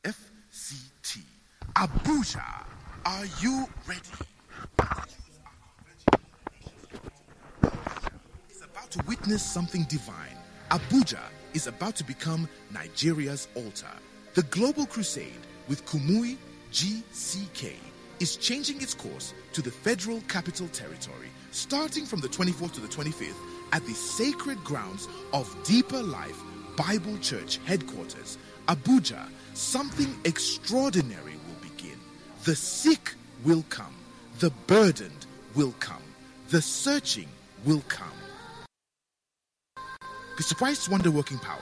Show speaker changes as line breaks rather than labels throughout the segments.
FCT. Abuja, are you ready? Is about to witness something divine. Abuja is about to become Nigeria's altar. The Global Crusade with Kumuyi GCK is changing its course to the Federal Capital Territory, starting from the 24th to the 25th at the sacred grounds of Deeper Life Bible Church headquarters, Abuja. Something extraordinary will begin. The sick will come, the burdened will come, the searching will come. Christ's wonder working power.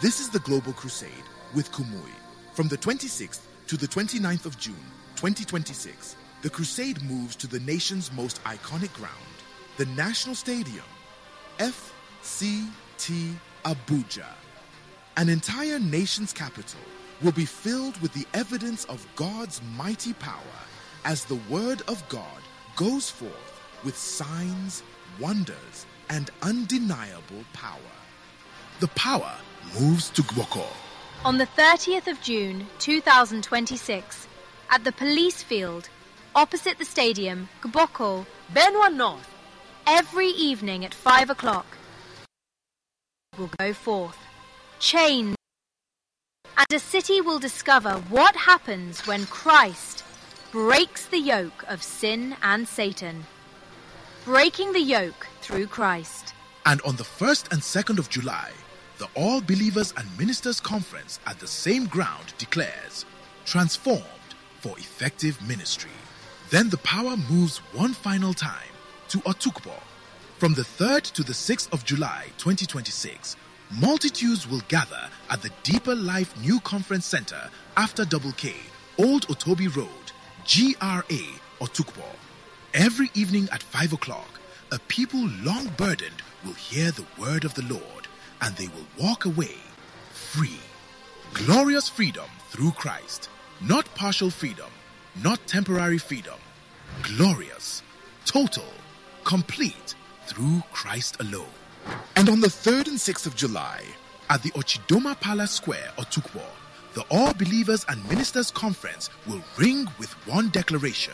This is the Global Crusade with Kumuyi. From the 26th to the 29th of June, 2026, the crusade moves to the nation's most iconic ground, the National Stadium, FCT Abuja. An entire nation's capital will be filled with the evidence of God's mighty power as the word of God goes forth with signs, wonders, and undeniable power. The power moves to Gboko.
On the 30th of June 2026, at the police field, opposite the stadium, Gboko,
Benue North,
every evening at 5 o'clock, will go forth, chained, and a city will discover what happens when Christ breaks the yoke of sin and Satan. Breaking the yoke through Christ.
And on the 1st and 2nd of July, the All Believers and Ministers Conference at the same ground declares Transformed for Effective Ministry. Then the power moves one final time to Otukpo. From the 3rd to the 6th of July 2026, multitudes will gather at the Deeper Life New Conference Center after Double K, Old Otobi Road, GRA, Otukpo. Every evening at 5 o'clock, a people long burdened will hear the word of the Lord and they will walk away free. Glorious freedom through Christ. Not partial freedom, not temporary freedom. Glorious, total, complete through Christ alone. And on the 3rd and 6th of July, at the Ochidoma Palace Square, Otukpo, the All Believers and Ministers Conference will ring with one declaration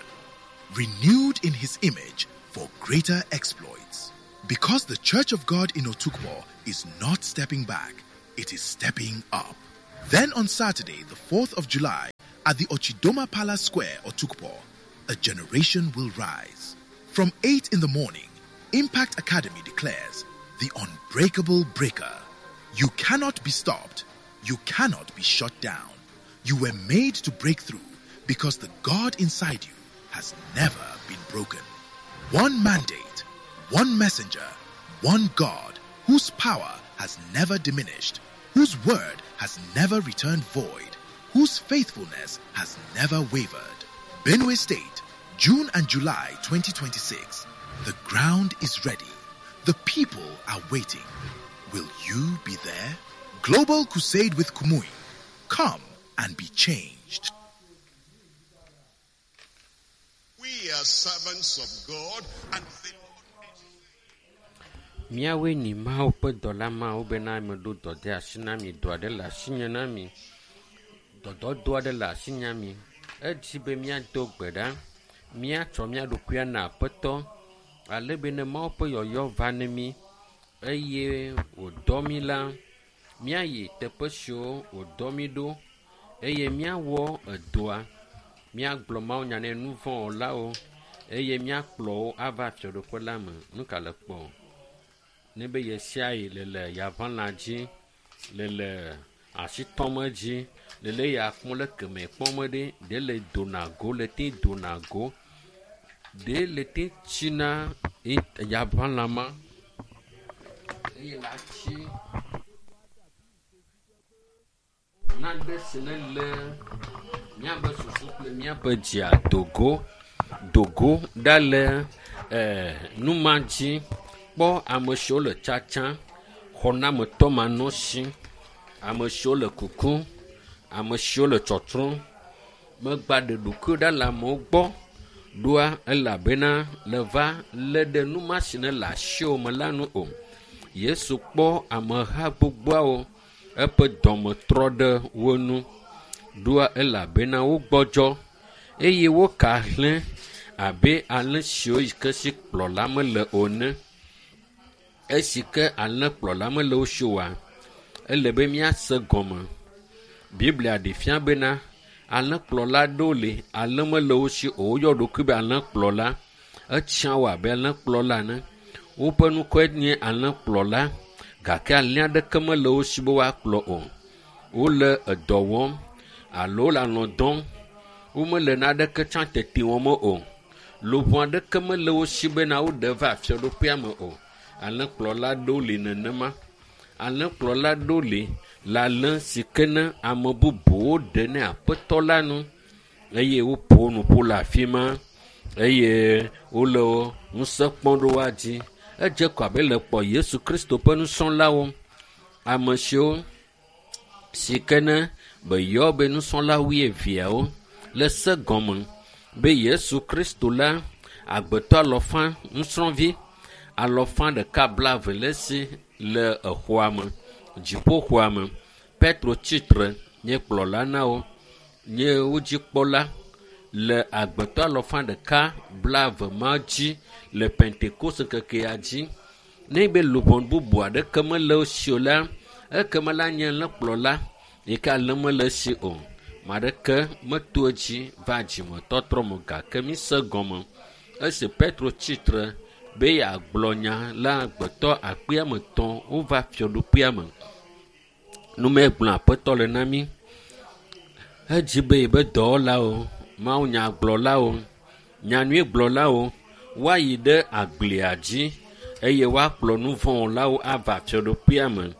renewed in his image for greater exploits. Because the Church of God in Otukpo is not stepping back, it is stepping up. Then on Saturday, the 4th of July, at the Ochidoma Palace Square, Otukpo, a generation will rise. From 8 in the morning, Impact Academy declares the unbreakable breaker. You cannot be stopped. You cannot be shut down. You were made to break through because the God inside you has never been broken. One mandate, one messenger, one God whose power has never diminished, whose word has never returned void, whose faithfulness has never wavered. Benue State, June and July 2026. The ground is ready. The people are waiting. Will you be there? Global Crusade with Kumuyi. Come and be changed.
We are servants of God and the
Míawoe nyi Mawu ƒe dɔla mawo bena meɖo dɔ de asi na mi. Dɔ aɖe le asinye na mi. Dɔdɔdɔ aɖe le asinye mi. Edzi be míado gbe ɖa, míatsɔ mía ɖokui ana Aƒetɔ ale be ne Mawu ƒe yɔyɔ va ne mí eye wòdɔ mí la, míayi teƒe siwo wòdɔ mí ɖo eye míawɔ edɔa. Míagblɔ mawunya ne nuvɔ̃wɔlawo eye míakplɔ wo ava fiaɖuƒe la me. Nu ka le kpɔ? Ne be ɣe sia ɣi le le yaʋalã dzi, le le asitɔm edzi, le le ya kpɔm le keme kpɔm ɖe, ɖe le dona go le te dona go, ɖe le te tsina yaʋalã ma eye la tsi nane si ne le míaƒe susu kple míaƒe dzia dogo dogo ɖa le nu ma dzi. Kpɔ ame siwo le tsatsa, xɔnametɔ manɔsi, ame siwo le kukum, ame siwo le tsɔtsrɔ̃m. Megba ɖe ɖokuiwo ɖa le amewo gbɔ ɖoa elabena le va lé ɖe nu ma si ne le asiwò me la nu o. Yesu kpɔ ameha gbogboawo, eƒe dɔme trɔ ɖe wo ŋu. Ɖoa elabena wogbɔdzɔ eye woka hlẽ abe alẽ siwo yi ke si kplɔla mele o ene. Esi ke alẽkplɔla mele wo si oa, ele be míase gɔme. Biblia ɖe fia bena alẽkplɔla aɖewo li, alẽ mele wo si o. Woyɔ ɖokui be alẽkplɔla. Etsã wo abe alẽkplɔla ene. Woƒe ŋkɔe nye alẽkplɔla gake alẽ aɖeke mele wo si be woakplɔ o. Wole edɔ wɔm alo wole alɔ̃ dɔm. Womele naneke tsã tete wɔm o. Luʋɔ aɖeke mele wo si bena woɖe va fiaɖuƒea me o. Alẽkplɔla aɖewo li nenema. Alẽkplɔla aɖewo li le alẽ si ke ne ame bubuwo ɖe ne aƒetɔ la nu eye woƒo nu ƒu le afi ma eye wole ŋusẽ kpɔm ɖe woa dzi. Edze ko abe le kpɔ Yesu Kristo ƒe nusrɔ̃lawo, ame siwo si ke ne beyɔ be nusrɔ̃la wuieveawo le se gɔme be Yesu Kristo la agbetɔ alɔfa nusrɔ̃vi alɔfa ɖeka blaeve le esi le exɔa me, dziƒoxɔa me. Petro tsitre nye kplɔla na wo, nye wo dzikpɔla le agbetɔ alɔfa ɖeka blaeve ma dzi le Pentekoste ŋkekea dzi. Ne be luʋɔ bubu aɖeke mele wo si o la, ekema la nye alẽkplɔla yi ke alẽ mele esi o. Ame aɖeke meto edzi va dzimetɔtrɔ me o gake mise gɔme. Esi Petro tsitre be yeagblɔ nya la agbetɔ akpe ame etɔ̃ wova fiaɖuƒea me. Nume gblɔ aƒetɔ le na mí. Edzi be yebe dɔwɔlawo, mawunyagblɔlawo, nyanyuigblɔlawo woayi ɖe agblia dzi eye woakplɔ nuvɔ̃wɔlawo ava fiaɖuƒea me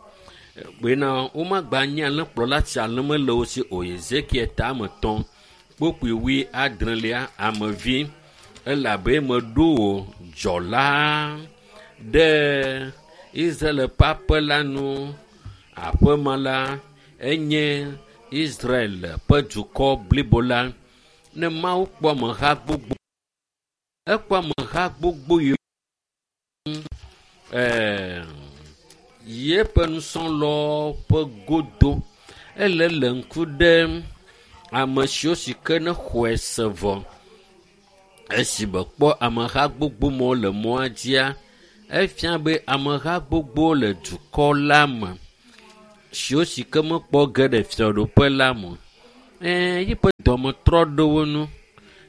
bena womagba nye alẽkplɔla si alẽ mele wo si o. Ezekiel ta ame etɔ̃ kpokpui wui adrelia amevi elabe meɖo wò dzɔla ɖe Israel ƒe aƒe la nu. Aƒe ma la enye Israel ƒe dukɔ blibo la. Ne Mawu kpɔ ameha gbogbo, ekpɔ ameha gbogbo yiwo ɛɛ yeƒe nusrɔ̃lawo ƒe godo. Ele le ŋku ɖem ame siwo si ke ne xɔe se vɔ. Esi mekpɔ ameha gbogbo mawo le mɔa dzia, efia be ameha gbogbo le dukɔ la me siwo si ke mekpɔ ge ɖe fiaɖuƒe la me o. Ɛɛ yiƒe dɔme trɔ ɖe wo ŋu.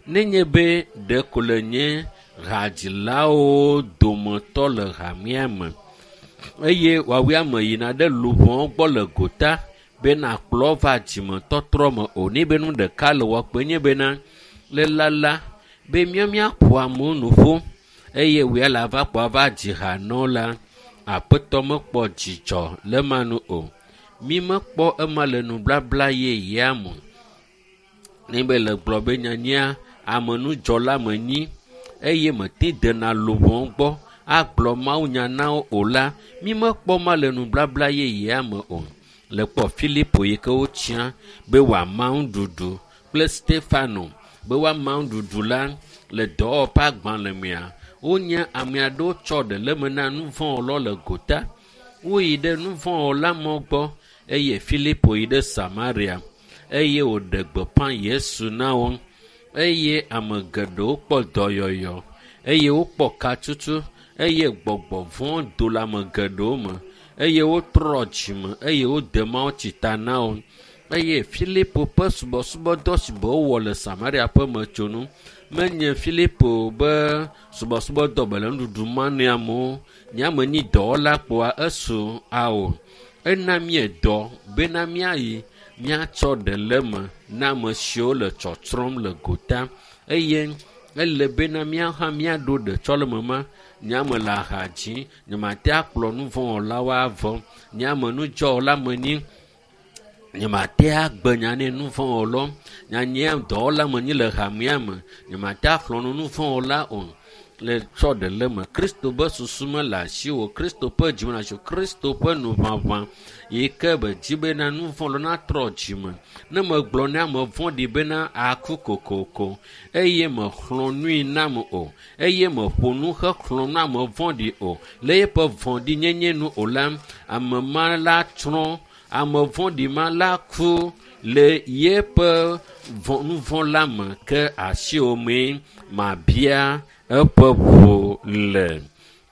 Nenye be ɖeko le nye hadzilawo dometɔ le hamea me eye woawoe ame yina ɖe luʋɔwo gbɔ le gota be nakplɔ va dzimetɔtrɔ me o. Ne be nu ɖeka le wɔ kpe nye bena le lala be míawo míaƒo amewo nu ƒu eye wòya le ava kpɔ ava dzi ha nɔ la, aƒetɔ mekpɔ dzidzɔ le ema nu o. Mi mekpɔ ema le nublabla yeyea me. Ne be le gblɔ be nyanyia amenudzɔla menyi eye mete dena luʋɔ gbɔ agblɔ mawunya na wo o la, mi mekpɔ ma le nublabla yeyea me o. Le kpɔ Filipo yi ke wotsia be wòama nuɖuɖu kple Stefano be woama nuɖuɖu la le dɔwɔƒe agbalẽ mea, wonye ame aɖewo tsɔ ɖe le eme na nuvɔ̃wɔlawo le gota. Woyi ɖe nuvɔ̃wɔla mawo gbɔ eye Filipo yi ɖe Samaria eye wòɖe gbeƒã Yesu na wo eye ame geɖewo kpɔ dɔyɔyɔ eye wokpɔ katutu eye gbɔgbɔ vɔ̃ do le ame geɖewo me eye wotrɔ dzime eye wode mawutsi ta na wo. Eye Filipo ƒe subɔsubɔdɔ si be wowɔ le Samaria ƒe metsonu menye Filipo be subɔsubɔdɔ be le nuɖuɖu ma ne amewo. Nye ame nyi dɔwɔla kpoa esu ao. Ena míedɔ bena míayi míatsɔ ɖe le eme na ame siwo le tsɔtsrɔ̃m le gota eye ele bena míawo hã míaɖo ɖetsɔleme ma. Nye ame le aha dzi, nyemate akplɔ nuvɔ̃wɔlawo avɔ. Nye ame nudzɔwɔla menyi, nyemate agbe nya nɛ nuvɔ̃wɔlawo. Nyanye dɔwɔla menyi le hamea me, nyemate axlɔ̃ nu nuvɔ̃wɔla o. Le tsɔ ɖe le eme. Kristo ƒe susu mele asiwò, Kristo ƒe dzi mele asiwò, Kristo ƒe nuʋaʋã yi ke be dzi bena nuvɔ̃ natrɔ dzime. Ne megblɔ ne ame vɔ̃ɖi bena aku kokoko eye mexlɔ̃ nui nam o eye meƒo nu hexlɔ̃ nu ame vɔ̃ɖi o le eƒe vɔ̃ɖinyenye nu o la, ame ma la tsrɔ̃, ame vɔ̃ɖi ma la ku. Le yeƒe nuvɔ̃ la me ke asiwò mee mabia eƒe ʋu le.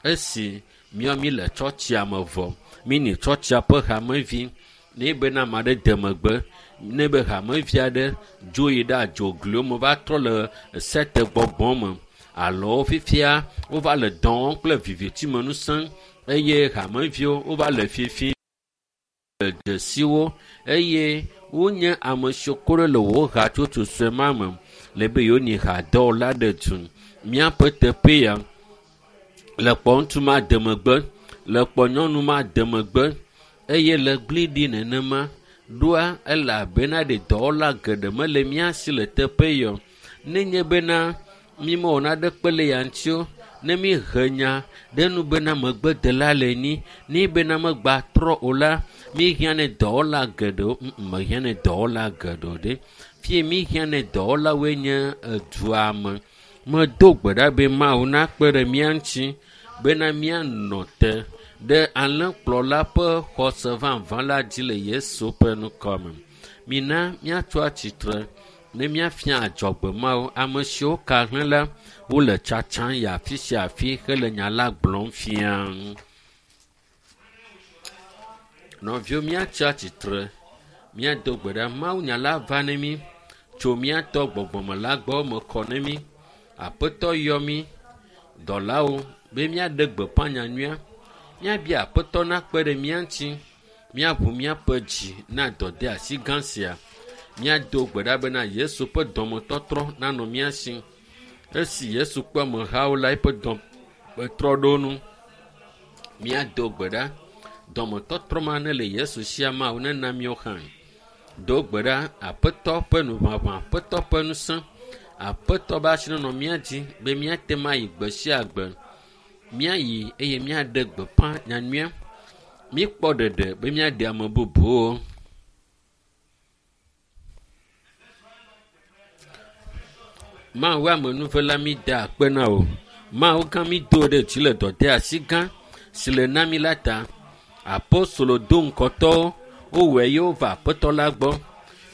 Esi míawo mi le tsɔtsia me vɔ, mi ni tsɔtsia ƒe hamevi, ne bena ame aɖe de megbe, ne be hamevi aɖe dzo yi ɖe adzogliwo me va trɔ le sete gbɔgbɔ me alo fifia wova le dɔ wɔm kple vivitime ŋusẽ eye hameviwo wova le fifi le dzesiwo eye wonye ame siwo ko ɖe le wò hatsotso sue ma me le be yewonyi hadɔwɔla ɖe du. Míaƒe teƒe ya le kpɔ ŋutsu ma de megbe, le kpɔ nyɔnu ma de megbe eye le gli ɖi nenema ɖoa elabena ɖe dɔwɔla geɖe mele mía si le teƒe ya o. Nenye bena mímewɔ naɖekpe le ya ŋuti o, ne míhe nya ɖe nu bena megbedela le ni, ne bena megba trɔ o la, míhiã ne dɔwɔla geɖewo, mehiã ne dɔwɔla geɖewo ɖe. Fie míhiã ne dɔwɔlawoe nye edua me. Medo gbe ɖa be Mawu nakpe ɖe mía ŋuti bena míanɔ te ɖe alẽkplɔla ƒe xɔse vavã la dzi le Yesu ƒe ŋkɔ me. Mina míatso atsitre ne míafia adzɔgbe Mawu. Ame siwo ka hlẽ la, wole tsatsam yi afi sia afi hele nya la gblɔm fia. Nɔviwo míatsi atsitre, míado gbe ɖa. Mawu nya la va ne mí tso míatɔ gbɔgbɔme la gbɔ me kɔ ne mí. Aƒetɔ yɔ mí dɔlawo be míaɖe gbeƒã nyanyuia. Míabia aƒetɔ nakpe ɖe mía ŋuti. Míaʋu míaƒe dzi na dɔdeasi gã sia. Míado gbe ɖa bena Yesu ƒe dɔmetɔtrɔ nanɔ mía si. Esi Yesu kpɔ amehawo la, eƒe dɔme trɔ ɖo nu. Míado gbe ɖa. Dɔmetɔtrɔ ma ne le Yesu sia Mawu nena míawo hã. Do gbe ɖa aƒetɔ ƒe nuʋaʋã, aƒetɔ ƒe ŋusẽ, aƒetɔ be asi nenɔ mía dzi be míate ŋu ayi gbe sia gbe. Míayi eye míaɖe gbeƒã nyanyuia. Míkpɔ ɖeɖe be míaɖe ame bubuwo. Mawu amenuvela mi da akpe na wò. Mawu gã mi do ɖe dzi le dɔdeasi gã si le na mi la ta. Apostolo do ŋkɔtɔwo wowɔe ye wova aƒetɔ la gbɔ.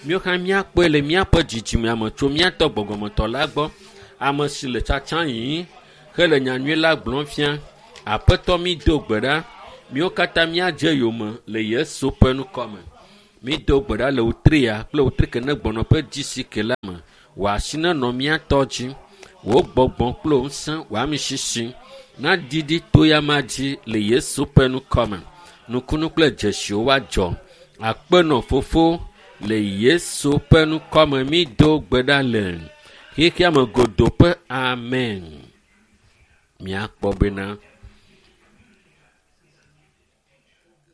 Míawo hã míakpɔe le míaƒe dzidzimea me tso míatɔ gbɔgbɔmetɔ la gbɔ. Ame si le tsatsa yim hele nyanyui la gblɔm fia. Aƒetɔ mi do gbe ɖa. Míawo katã míadze yome le Yesu ƒe ŋkɔ me. Mi do gbe ɖa le wotria kple wotri ke ne gbɔnɔ ƒe dzisi la me. Wò asi nenɔ mía tɔ dzi. Wò gbɔgbɔ kple wò ŋusẽ, wò amisisi naɖiɖi to ya ma dzi le Yesu ƒe ŋkɔ me. Nukunu kple dzesiwo woadzɔ. Akpe nɔ fofo le Yesu ƒe ŋkɔ me mi do gbe ɖa le xexea me godoo ƒe amen. Míakpɔ bena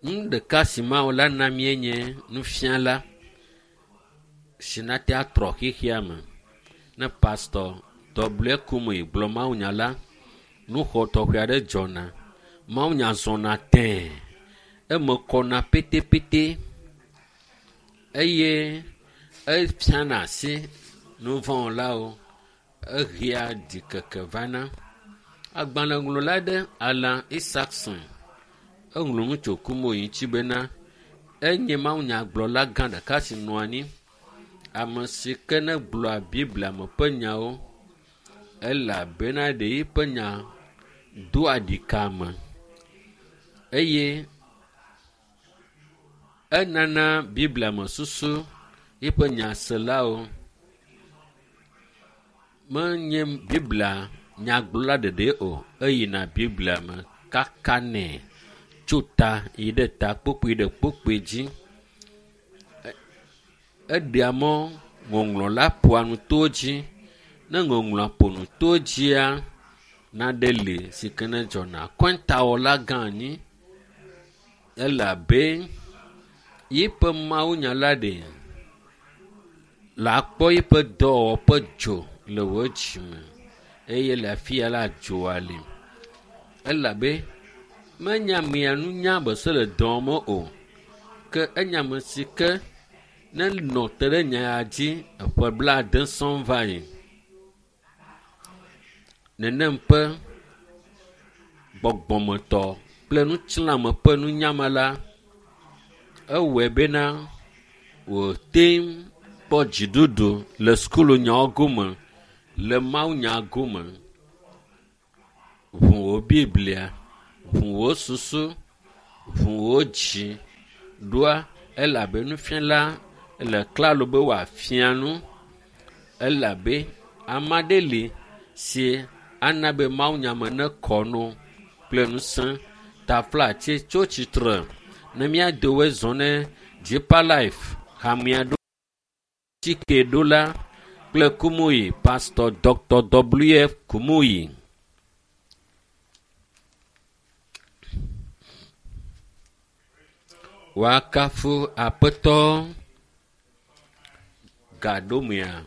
nu ɖeka si Mawu la na míe nye nufiala si nate atrɔ xexea me. Ne pastɔ W. Kumuyi gblɔ mawunya la, nuxɔ tɔxɛ aɖe dzɔna. Mawunya zɔna tẽe. Eme kɔna petepete eye efiana asi nuvɔ̃wɔlawo. Ehea ɖikeke vana. Agbalẽŋlɔla aɖe Alan Isaacson eŋlɔ nu tso Kumuyi ŋuti bena enye mawunyagblɔla gã ɖeka si nɔ anyi. Ame si ke ne gblɔa Biblia me ƒe nyawo elabena ɖe eƒe nya doa ɖika me eye enana Biblia me susu eƒe nyaselawo. Menye Biblia nyagblɔla ɖeɖe o, eyina Biblia me kakanɛ tso ta yi ɖe ta kpokpui ɖe kpokpui dzi. Eɖea mɔ ŋɔŋlɔ la ƒoa nu to dzi. Ne ŋɔŋlɔa ƒo nu to dzia, naɖe li si ke ne dzɔna. Kɔntawɔla gã anyi elabe yiƒe mawunya la ɖe le akpɔ yiƒe dɔwɔwɔ ƒe dzo le wò dzime eye le afi ya la dzoa li elabe menye amea nunya be se le dɔ me o ke enye ame si ke ne nɔ te ɖe nya ya dzi eƒe 70 sɔŋ va yi. Nenem ƒe gbɔgbɔmetɔ kple ŋutilãme ƒe nunyame la, ewɔe bena Wòte kpɔ dziɖuɖu le sukulunyawo gome, le mawunya gome. Ʋu wò Biblia, ʋu wò susu, ʋu wò dzi ɖoa elabe nufiala le klalo be wòafia nu elabe ame aɖe li si ana be mawunya me nekɔ no kple ŋusẽ. Taflatse tso tsitre ne míado woe zɔ ne Deeper Life hamea ɖo tsike ɖola kple Kumuyi, Pastor Dr. W.F. Kumuyi. Woakafu Aƒetɔ gaɖomea.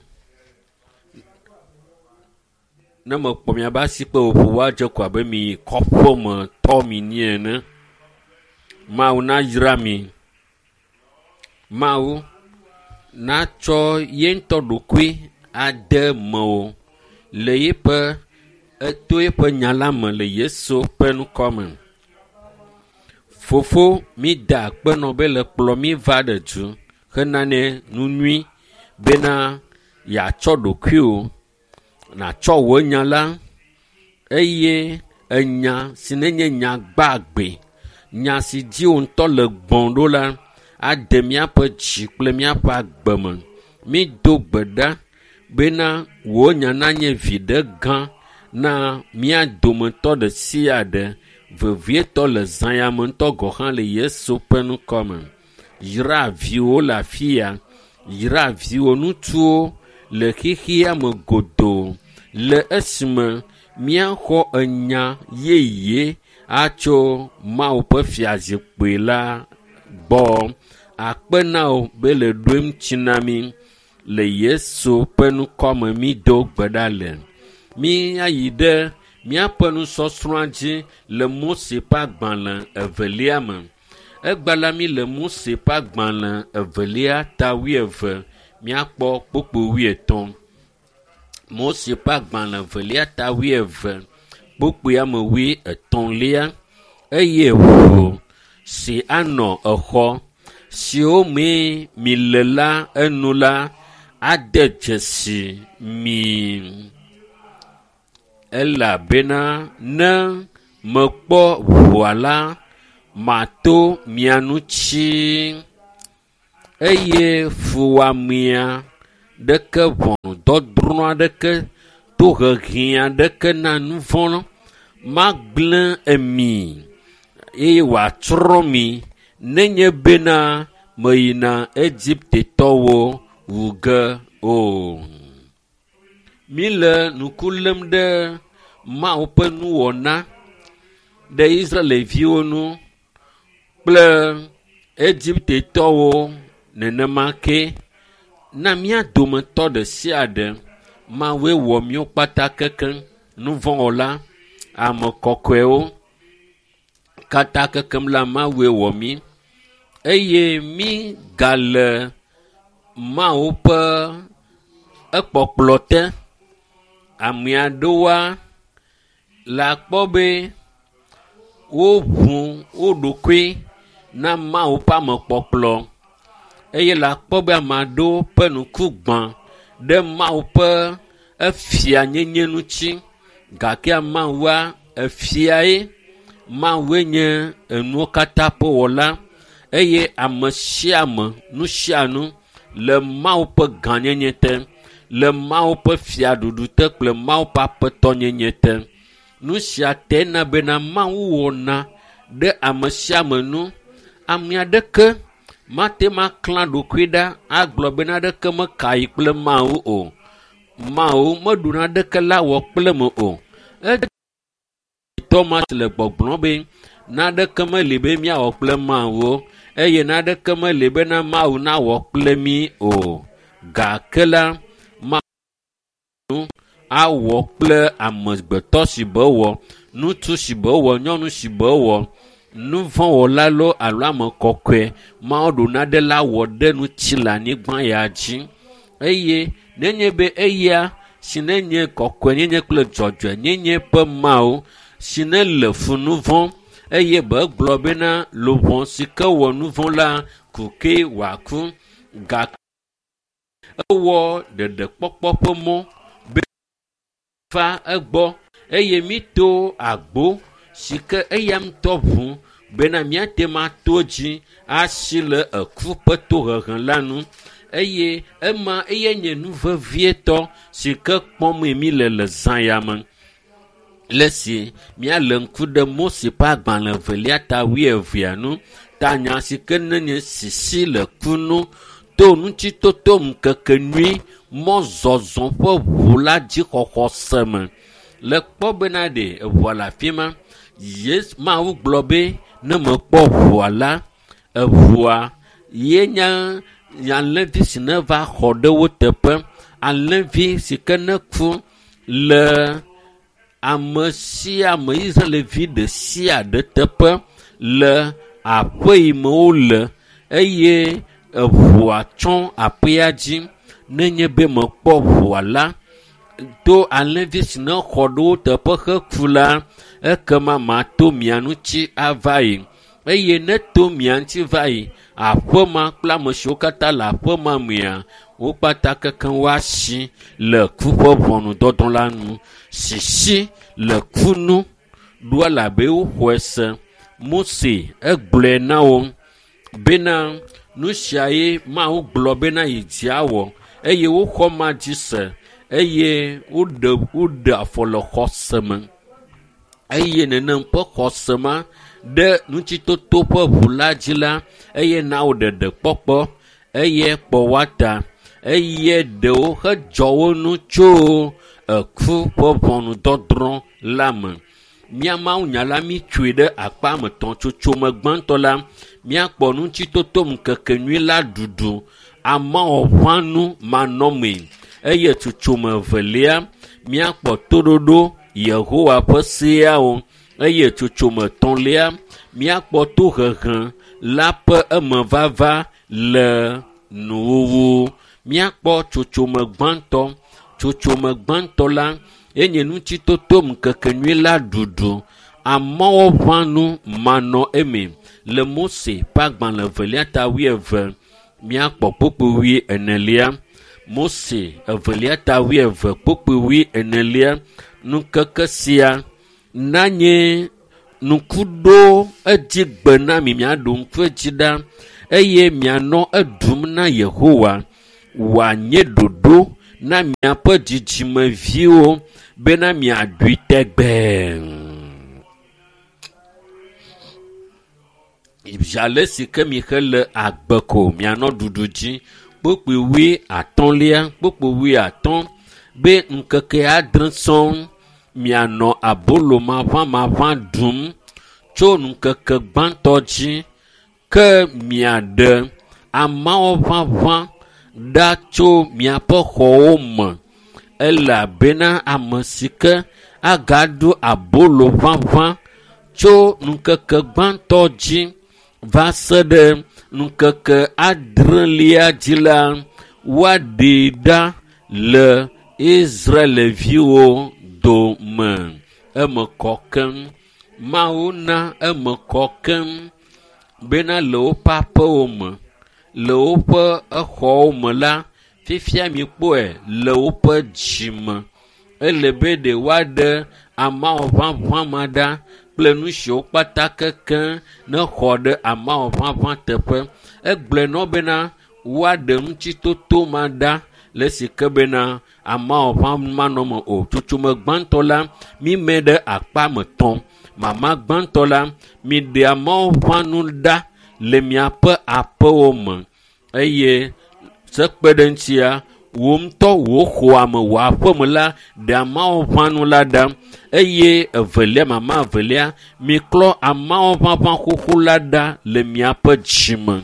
Ne mekpɔ miabe asikpe ƒoƒo woadze ko abe mi kɔƒe me tɔ mi ni ene. Mawu nayra mi. Mawu natsɔ ye ŋutɔ ɖokui ade mewò le yeƒe eto yeƒe nya la me le Yesu ƒe ŋkɔ me. Fofo, mi da akpe nɔ be le kplɔ mi va ɖe du hena ne nu nyui bena yeatsɔ ɖokuiwò, nàtsɔ wò nya la eye enya si nenye nya gbagbe, nya si dzi wò ŋutɔ le gbɔm ɖo la ade míaƒe dzi kple míaƒe agbe me. Mído gbe ɖa bena wò nya nanye viɖe gã na mía dometɔ ɖe sia ɖe, vevietɔ le zã ya me ŋutɔ gɔ̃ hã le Yesu ƒe ŋkɔ me. Yra viwò le afi ya, yra viwò ŋutsuwo le xexea me godoo le esime míaxɔ enya yeye atso Mawu ƒe fiazikpui la gbɔ. Akpe na wò be le ɖo eŋuti na mí le Yesu ƒe ŋkɔ me mído gbe ɖa le. Míayi ɖe míaƒe nusɔsrɔ̃a dzi le Mose ƒe agbalẽ evelia me. Egba la mí le Mose ƒe agbalẽ evelia ta wuieve míakpɔ kpukpui wuietɔ̃. Mose ƒe agbalẽ evelia ta wuieve kpukpui ame wuietɔ̃lia eye ʋu si anɔ exɔ siwo mee mi le la enu la ade dzesi mi. Elabena ne mekpɔ ʋua la, mato mia ŋuti eye fuwɔamea ɖeke ʋɔnudɔdrɔ̃ aɖeke tohehe aɖeke na nu vɔ̃ magblẽ emi eye wòatsrɔ̃ mi nenye bena meyina Egiptetɔwo wu ge o. Míle ŋku lém ɖe Mawu ƒe nuwɔna ɖe Israelviwo ŋu kple Egiptetɔwo nenema ke. Na mía dometɔ ɖe sia ɖe, Mawue wɔ míwo kpata kekeŋ, nuvɔ̃wɔla, ame kɔkɔewo katã kekem la Mawue wɔ mí eye mí gale Mawu ƒe ekpɔkplɔ te. Ame aɖewoa le akpɔ be woʋu wo ɖokui na Mawu ƒe amekpɔkplɔ eye le akpɔ be ame aɖewo ƒe ŋku gbã ɖe Mawu ƒe efianyenye ŋuti gake Mawua efiae. Mawue nye enuwo katã ƒe wɔla eye ame sia ame, nu sia nu le Mawu ƒe gãnyenye te, le Mawu ƒe fiaɖuɖu te kple Mawu ƒe aƒetɔnyenye te. Nu sia te na bena Mawu wɔna ɖe ame sia ame nu. Ame aɖeke mate ŋu aklã ɖokui ɖa agblɔ be naɖeke meka yi kple Mawu o. Mawu meɖu naɖeke la wɔ kple me o. Etɔ ma si le gbɔgblɔm be naɖeke meli be míawɔ kple Mawu o eye naɖeke meli bena Mawu nawɔ kple mí o. Gake la, Mawu awɔ kple amegbetɔ si be wɔ, ŋutsu si be wɔ, nyɔnu si be wɔ, nuvɔ̃wɔla loo alo ame kɔkɔe Mawu ɖo naɖe la wɔ ɖe ŋuti le anyigba ya dzi. Eye nenye be eya si nenye kɔkɔenyenye kple dzɔdzɔenyenye ƒe Mawu si ne le fu nu vɔ̃ eye be gblɔ bena luʋɔ si ke wɔ nu vɔ̃ la ku ke wòaku. Gake ewɔ ɖeɖekpɔkpɔ ƒe mɔ be va egbɔ eye mito agbo si ke eya ŋutɔ ʋu bena míate ŋu ato dzi asi le eku ƒe tohehe la nu eye ema eye nye nu vevietɔ si ke kpɔm mi le le zã ya me. Le si míale ŋku ɖe Mose ƒe agbalẽ evelia ta wuievea nu tanya si ke nenye sisi le ku nu to ŋutitoto ŋkeke nyui mɔzɔzɔ ƒe ʋu la dzixɔxɔ se me. Le kpɔ bena ɖe eʋua le afi ma. Yesu Mawu gblɔ be ne mekpɔ ʋua la, eʋua ye nye alẽvi si ne va xɔ ɖe wo teƒe. Alẽvi si ke ne ku le ame sia ame Israelvi ɖe sia ɖe teƒe le aƒe yi me wole eye eʋua tsɔ aƒea dzi. Nenye be mekpɔ ʋua la, to alẽvi si ne xɔ ɖe wo teƒe heku la, ekema mato mia ŋuti ava yi. Eye ne to mia ŋuti va yi, aƒe ma kple ame siwo katã le aƒe ma mea, wo kpata kekeŋ woasi le ku ƒe ʋɔnudɔdrɔ̃ la nu. Sisi le ku nu ɖo elabe woxɔe se. Mose egblɔe na wo bena nu sia ye Mawu gblɔ bena yi dzi awɔ eye woxɔ ma dzi se eye woɖe woɖe afɔ le xɔse me eye nenem ƒe xɔse ma ɖe ŋutitoto ƒe ʋu la dzi la eye na wo ɖeɖe kpɔkpɔ eye kpɔ woa ta eye ɖewo hedzɔ wo nu tso eku ƒe ʋɔnudɔdrɔ̃ la me. Mía Mawu nya la mítsoe ɖe akpa me tɔ̃ tsotsome gbãtɔ la míakpɔ ŋutitoto ŋkeke nyui la ɖuɖu amawɔʋãnu manɔmee eye tsotsome evelia míakpɔ toɖoɖo Yehowa ƒe seawo eye tsotsome etɔ̃lia míakpɔ tohehe la ƒe emevava le nuwuwu. Míakpɔ tsotsome gbãtɔ. Tsotsome gbãtɔ la enye ŋutitoto ŋkeke nyui la ɖuɖu amɔwɔʋãnu manɔ eme le Mose ƒe agbalẽ evelia ta wuieve míakpɔ kpukpui wuienelia. Mose evelia ta wuieve kpukpui wuienelia ŋkeke sia nanye ŋku ɖo edzi gbe na mi miaɖo ŋku edzi ɖa eye mianɔ eɖum na Yehowa wòanye ɖoɖo na miaƒe dzidzimeviwo bena miaɖui tegbee. Ale si ke mixe le agbe ko mianɔ ɖuɖu dzi. Kpukpui wuiatɔ̃lia kpukpui wuiatɔ̃ be ŋkeke adre sɔŋ mianɔ abolo maʋamaʋã ɖum tso ŋkeke gbãtɔ dzi ke miaɖe amawo ʋaʋã ɖa tso miaƒe xɔwo me elabena ame si ke agaɖu abolo ʋaʋã tso ŋkeke gbãtɔ dzi va se ɖe ŋkeke adrelia dzi la, woaɖee ɖa le Israelviwo dome. Eme kɔ keŋ. Mawu na eme kɔ keŋ bena le woƒe aƒewo me, le woƒe exɔwo me la, fifia mikpɔe le woƒe dzime. Ele be ɖe woaɖe amawɔ ʋaʋã ma ɖa kple nu siwo kpata kekeŋ ne xɔ ɖe amawɔ ʋaʋã teƒe. Egblɔe na wo bena woaɖe ŋutitoto ma ɖa le esi ke bena amawɔ ʋã manɔ eme o. Tsotsome gbãtɔ la, mime ɖe akpa me tɔ̃. Mama gbãtɔ la, miɖe amewo ʋã nu ɖa le miaƒe aƒewo me eye sekpe ɖe ŋutia, wò ŋutɔ wò xɔa me, wò aƒeme la, ɖe amewo ʋã nu la ɖa eye evelia, mama evelia, miklɔ amewo ʋaʋã xoxo la ɖa le miaƒe dzime.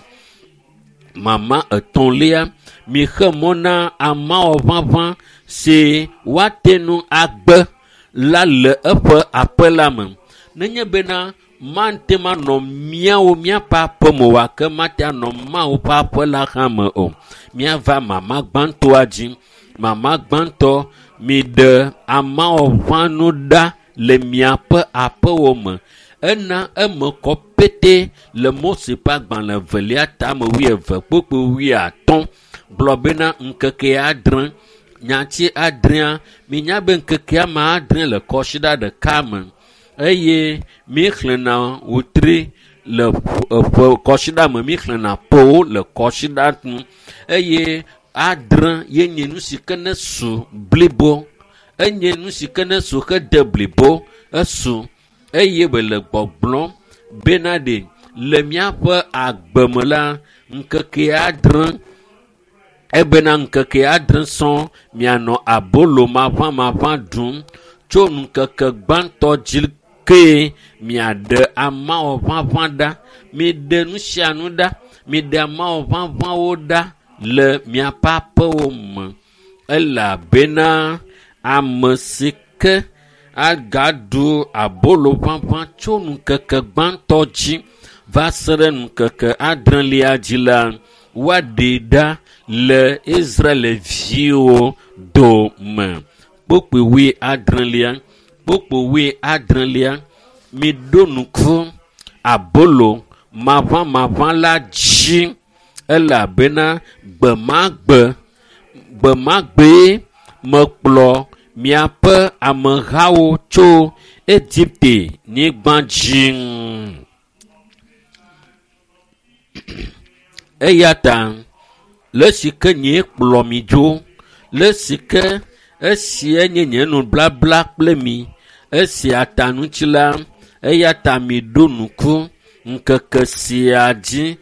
Mama etɔ̃lia, mixe mɔ na amewo ʋaʋã si woate ŋu agbe la le eƒe aƒe la me. Nenye bena mate ŋu anɔ míawo míaƒe aƒeme o gake mate anɔ Mawu ƒe aƒe la hã me o. Míava mama gbãtɔa dzi. Mama gbãtɔ, miɖe amewo ʋã nu ɖa le miaƒe aƒewo me. Ena eme kɔ pete le Mose ƒe agbalẽ evelia tame wuieve kpokpo wuiatɔ̃ gblɔ bena ŋkeke adre nyati adrea minya be ŋkeke ame adre le kɔsiɖa ɖeka me eye míexlẽna wotri le ƒe kɔsiɖa me míexlẽna ƒewo le kɔsiɖa nu eye adre ye nye nu si ke ne su blibo enye nu si ke ne su hede blibo esu eye wòle gbɔgblɔm bena ɖe le míaƒe agbe me la ŋkeke adre ebena ŋkeke adre sɔŋ mianɔ abolo maʋamaʋã ɖum tso ŋkeke gbãtɔ dzi kee miaɖe amawɔ ʋaʋã ɖa miɖe nu sia nu ɖa miɖe amawɔ ʋaʋãwo ɖa le miaƒe aƒewo me elabena ame si ke agaɖu abolo ʋaʋã tso ŋkeke gbãtɔ dzi va se ɖe ŋkeke adrelia dzi la woaɖee ɖa le Israelviwo dome. Kpokpoe wuiadrelia kpokpoe wuiadrelia miɖo ŋku abolo maʋamaʋã la dzi elabena gbe ma gbe gbe ma gbee mekplɔ miaƒe amehawo tso Egipte nyigba dzi. Eya ta le si ke nyee kplɔ mi dzo le si ke esia nye nye nublabla kple mi esia ta ŋuti la eya ta miɖo ŋku ŋkeke sia dzi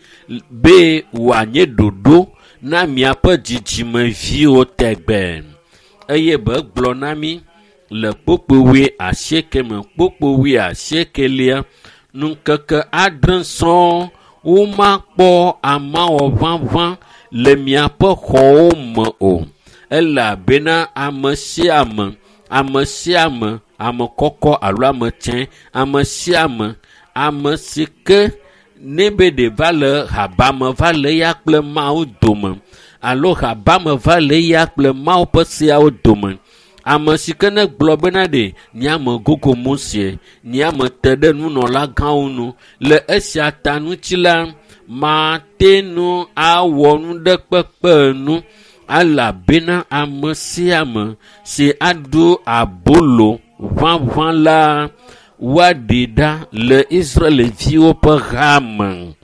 be wòanye ɖoɖo na miaƒe dzidzimeviwo tegbe eye be gblɔ na mi le kpokpo wuiasieke me kpokpo wuiasiekelia ŋkeke adre sɔŋ womakpɔ amawɔ ʋaʋã le miaƒe xɔwo me o elabena ame sia ame ame sia ame ame kɔkɔ alo ame tsɛ ame sia ame ame si ke ne be ɖe va le habame va le eya kple Mawu dome alo habame va le eya kple Mawu ƒe seawo dome ame si ke ne gblɔ bena ɖe nye ame gogo Mose nye ame te ɖe nunɔlagãwo nu le esia ta ŋuti la mate ŋu awɔ nu ɖe kpekpe nu elabena ame sia ame si aɖu abolo ʋaʋã la woaɖee ɖa le Israelviwo ƒe hame.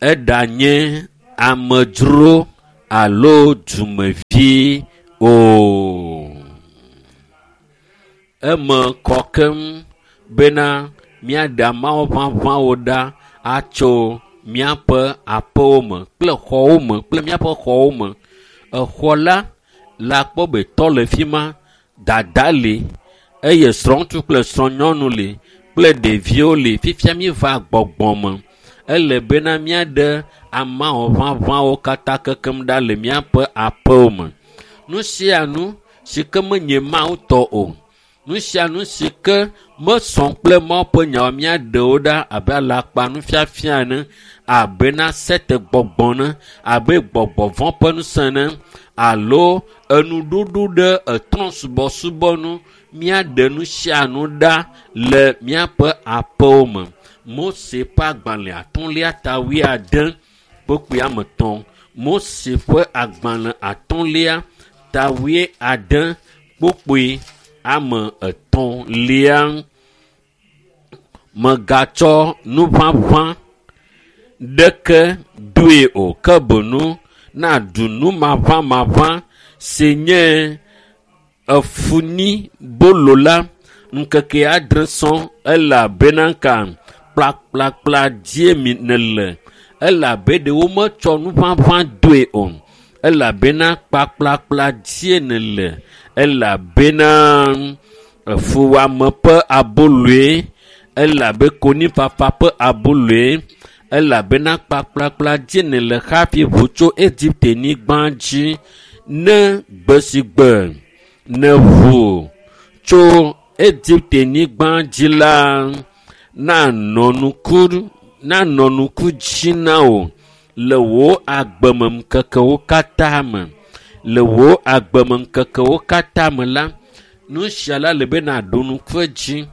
Eɖanye amedzro alo dumevi o. Eme kɔ keŋ bena míaɖe amawo ʋaʋãwo ɖa atso míaƒe aƒewo me kple xɔwo me kple míaƒe xɔwo me. Exɔ la le akpɔ be tɔ le fi ma, dada li eye srɔ̃ŋutsu kple srɔ̃nyɔnu li kple ɖeviwo li. Fifia míeva gbɔgbɔ me. Ele bena míaɖe amawɔ ʋaʋãwo katã kekem ɖa le míaƒe aƒewo me. Nu sia nu si ke menye Mawu tɔ o. Nu sia nu si ke mesɔ kple Mawu ƒe nyawo míaɖe wo ɖa abe alakpa nufiafia ene, abe na sete gbɔgbɔ ene, abe gbɔgbɔ vɔ̃ ƒe ŋusẽ ene alo enuɖuɖu ɖe etrɔ̃subɔsubɔ nu míaɖe nu sia nu ɖa le míaƒe aƒewo me. Mose ƒe agbalẽ atɔ̃lia ta wuiade kpokpoe ame etɔ̃. Mose ƒe agbalẽ atɔ̃lia ta wuiade kpokpoe ame etɔ̃lia. Mègatsɔ nuʋaʋã ɖeke doe o ke boŋ naɖu nu maʋamaʋã si nye efuni bolo la ŋkeke adre sɔŋ elabena ka kplakplakpla dzie mi nèle elabe ɖe wometsɔ nuʋaʋã doe o elabena kplakplakpla dzie nèle elabena efuwɔame ƒe aboloe elabe konyifafa ƒe aboloe elabena kplakplakpla dzie nèle hafi ʋu tso Egipte nyigba dzi ne gbe si gbe nèʋu tso Egipte nyigba dzi la nanɔ ŋku nanɔ ŋku dzi na wò le wò agbemeŋkekewo katã me. Le wò agbemeŋkekewo katã me la, nu sia la le be nàɖo ŋku edzi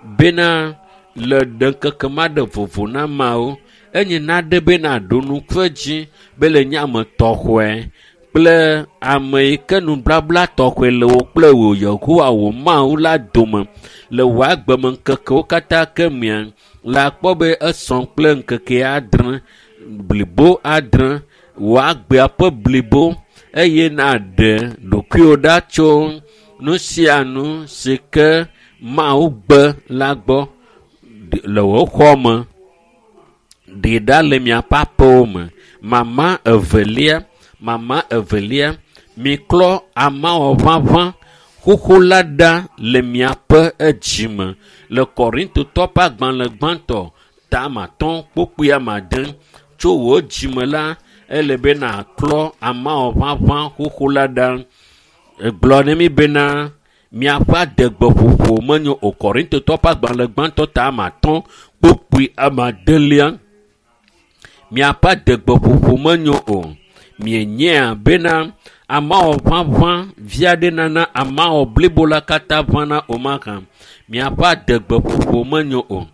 Bena le ɖe ŋkeke ma ɖe vovo na ameawo. Enye naɖe bena ɖo ŋku edzi be le nye ame tɔxɔe kple ame yi ke nublabla tɔxɔe le wò kple wò Yehowa wò Mawu la dome le wò agbemeŋkekewo katã ke mea, la kpɔ be esɔ kple ŋkeke adre, blibo adre, wò agbea ƒe blibo eye naɖe ɖokuiwò ɖa tso nu sia nu si ke Mawu gbe la gbɔ le wò xɔ me. Ɖee ɖa le miaƒe aƒewo me. Mama evelia, mama evelia, miklɔ amawɔ ʋaʋã xoxo la ɖa le miaƒe edzime. Le Korintotɔ ƒe agbalẽ gbãtɔ ta atɔ̃ kpukpui ame ade tso wò dzime la, ele be nàklɔ amawɔ ʋaʋã xoxo la ɖa. Egblɔ ne mi bena miaƒe adegbeƒoƒo menyo o. Korintotɔ ƒe agbalẽ gbãtɔ ta ame atɔ̃ kpukpui ame adelia. Miaƒe adegbeƒoƒo menyo o. Mienyea bena amawɔ ʋaʋã vi aɖe nana amawɔ blibo la katã ʋãna o mahã. Miaƒe adegbeƒoƒo menyo o.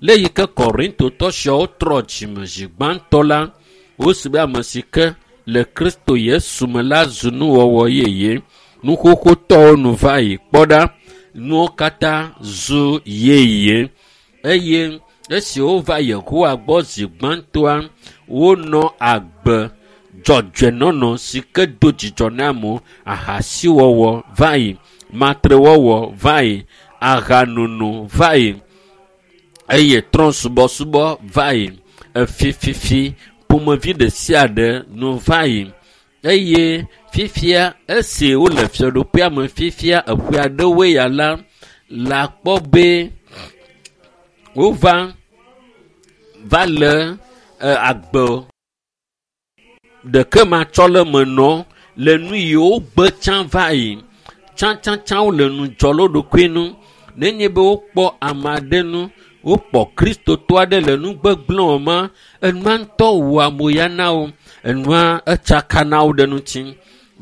Le yi ke Korintotɔ siawo trɔ dzime zi gbãtɔ la, wosi be ame si ke le Kristo Yesu me la zu nuwɔwɔ yeye. Nuxoxotɔwo nu va yi kpɔ ɖa, nuwo katã zu yeye. Eye esi wova Yehowa gbɔ zi gbãtɔa, wonɔ agbe dzɔdzɔenɔnɔ si ke do dzidzɔ na amewo, ahasiwɔwɔ va yi, matrewɔwɔ va yi, ahanono va yi eye trɔ̃subɔsubɔ va yi, efififi ƒomevi ɖe sia ɖe nu va yi. Eye fifia esi wole fiaɖuƒea me fifia eƒe aɖewoe ya la, la kpɔ be wova va le agbe ɖeke matsɔ le me nɔ le nu yiwo gbe tsã va yi. Tsãtsãtsã wole nu dzɔ le wo ɖokui nu. Nenye be wokpɔ ame aɖe nu, wokpɔ kristotɔ aɖe le nu gbegblẽ wɔm, enua ŋutɔ wɔa moya na wo. Enua etsaka na wo ɖe ŋuti.